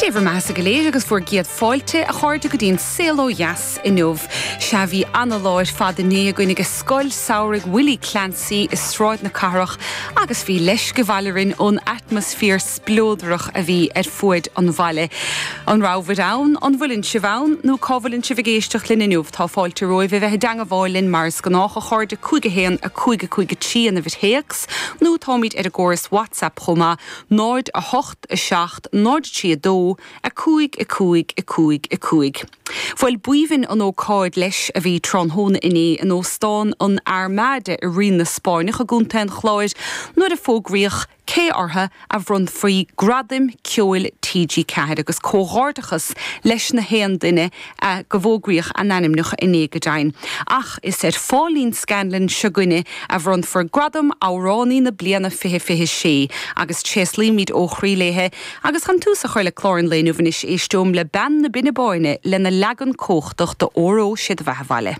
Sé bhur mbeathasa go léir agus bhur gcéad fáilte, a chairde, go dtí an Saol Ó Dheas inniu. Sea, bhí ana-lá ar fad inné againn ag Scoil Samhraidh Willie Clancy i Sráid na Cathrach agus bhí leisce bhaile orainn ón atmaisféar spleodrach a bhí ar fuaid an bhaile. An rabhabhair ann? An bhfuileann sibh ann? Nó cá bhfuileann sibh ag éisteacht linn inniu? Tá fáilte romhaibh a bheith i dteangabháil linn mar is gnách, a chairde, 5 1 5 5 3 an uimhir théacs, nó táimid ar an gcóras WhatsApp chomh maith, 0 8 7 0 3 2 5 5 5 5. Bhuel, b'aoibhinn an ócáid leis a bhí tráthnóna inné in Óstán an Armada i Rinn na Spáinneach i gContae an Chláir nuair a fógraíodh cé orthu a bhronnfaí Gradaim Ceoil TG4 agus comhghairdeachas leis na haon duine a go bhfógraíodh a n-ainmneacha inné go deimhin. Ach is ar Pháilín Scanlon seo 'gainne a bhronnfar Gradam Amhránaí na Bliana 2026 agus tréaslaímid ó chroí léithe. Agus chun tús a chur le clár an lae inniu anois éisteom le Bean na Binne Báine lena leagan cumhachtach de Óró Sé do Bheatha 'Bhaile.